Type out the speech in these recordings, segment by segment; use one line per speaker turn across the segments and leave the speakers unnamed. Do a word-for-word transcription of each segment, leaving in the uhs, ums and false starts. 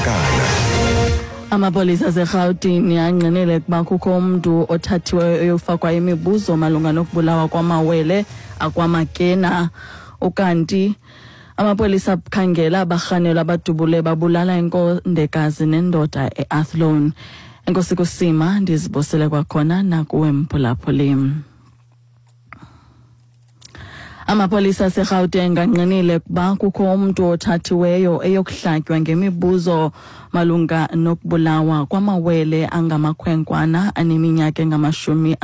Mantakana.
Amapolisa aseRhawutini angqinile ukuba kukho umntu othathiweyo eyofakwa imibuzo malunga nokubulawa kwamawele akwaMakena. Ukanti amapolisa akhangela abarhanelwa abadubule babulala inkondekazi nendoda eAthlone. Enkosi kusima, ndizibosele kwakhona nakuwe mphulaphuli. Amapolisa aseRhawuteng angqinile ukuba kukho umntu othathiweyo eyokuhlatywa ngemibuzo malunga nokubulawa kwamawele angamakhwenkwana aneminyaka engamashumi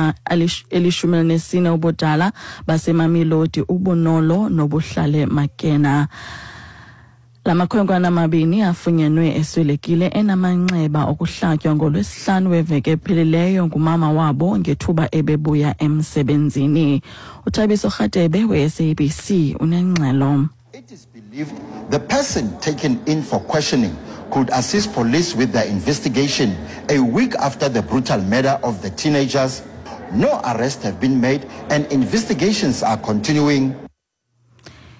elishumi elinesine ubudala baseMamelodi, uBonolo noBuhlale Makena. La makhwenkwana amabini afunyenwe eswelekile enamanxeba okuhlatywa ngoLwesihlanu weveki ephelileyo ngumama wabo ngethuba ebebuya emsebenzini. UThabiso Rhatebe we-S A B C unengxelo.
It is believed the person taken in for questioning could assist police with their investigation a week after the brutal murder of the teenagers. No arrests have been made and investigations are continuing.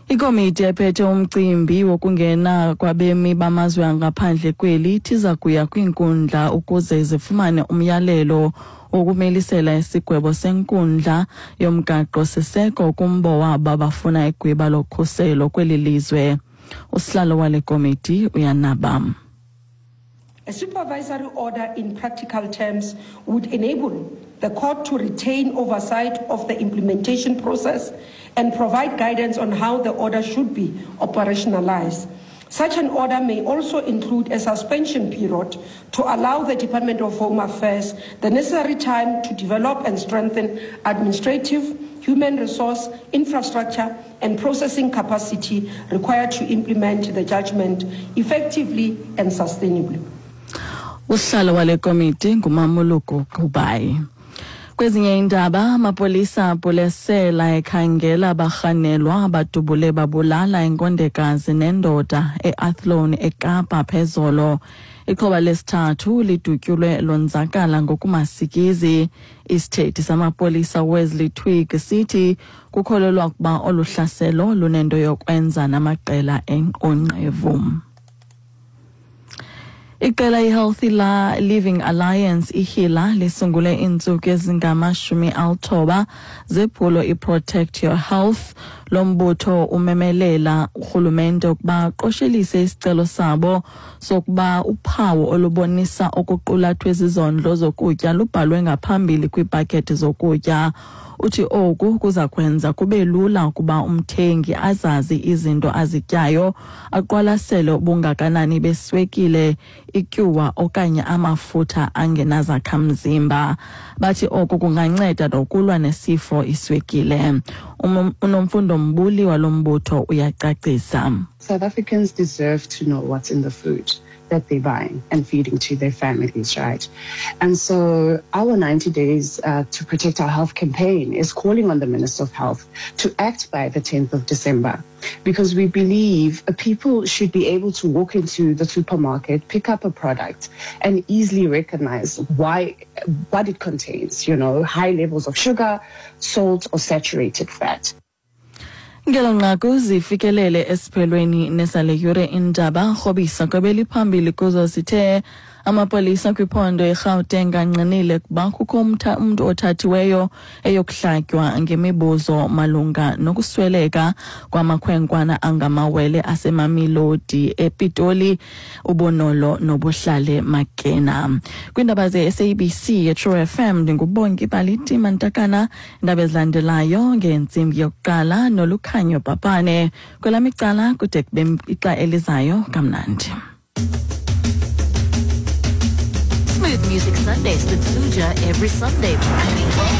Ikomiti ephethe umcimbi wokungena kwabemi bamazwe angaphandle kweli ithi iza kuya kwiinkundla ukuze zifumane umyalelo wokumilisela isigwebo senkundla yomgaqo-siseko kumbo wabo abafuna igwiba lokhuselo kweli lizwe. Usihlalo wale komiti uyanaba.
A supervisory order in practical terms would enable the court to retain oversight of the implementation process and provide guidance on how the order should be operationalized. Such an order may also include a suspension period to allow the Department of Home Affairs the necessary time to develop and strengthen administrative, human resource, infrastructure, and processing capacity required to implement the judgment effectively and sustainably.
Usihlalo wale komiti nguMamoloko Kubayi. Kwezinye iindaba, amapolisa apulesela ekhangela abarhanelwa abadubule babulala inkondekazi nendoda eAthlone eKapa phezolo. Ixhoba lesithathu lidutyulwe lonzakala ngokumasikizi. Isithethi samapolisa Wesley Twigg sithi kukholelwa ukuba olu hlaselo lunento yokwenza namaqela onqevu. Iqela iHealthy Living Alliance iHILA lisungule iintsuku ezingamashumi alithoba zephulo iProtect Your Health. Lo mbutho umemelela urhulumente ukuba aqoshelise isicelo sabo sokuba uphawu olubonisa okuqulathwe zizondlo zokutya lubhalwe ngaphambili kwiipakethi zokutya. Uthi oku kuza kwenza kube lula ukuba umthengi azazi izinto azityayo, aqwalasele ubungakanani beswekile, ityuwa okanye amafutha angenazakhamzimba. Bathi oku kunganceda nokulwa nesifo iswekile. UNomfundo Mbuli walo mbutho uyacacisa.
South Africans deserve to know what's in the food that they're buying and feeding to their families, right? And so our ninety days uh, to protect our health campaign is calling on the Minister of Health to act by the tenth of December, because we believe people should be able to walk into the supermarket, pick up a product and easily recognize why, what it contains, you know, high levels of sugar, salt or saturated fat.
Ngelo nqaku zifikelele esiphelweni nesale yure indaba. Rhobisa kwebeliphambili kuzo sithe amapolisa kwiphondo eGauteng angqinile kuba kukho umntu othathiweyo eyokuhlatywa ngemibuzo malunga nokusweleka kwamakhwenkwana angamawele aseMamelodi ePitoli, uBonolo noBuhlale Makena. Kwiindaba ze-S A B C eTrue F M ndinguBongi Baliti Mantakana. Indaba ezilandelayo ngentsimbi yokuqala noLukhanyo Papane. Kwelam icala kude kube ixa elizayo kamnandi.
Smooth Music Sundays with Suja every Sunday between twelve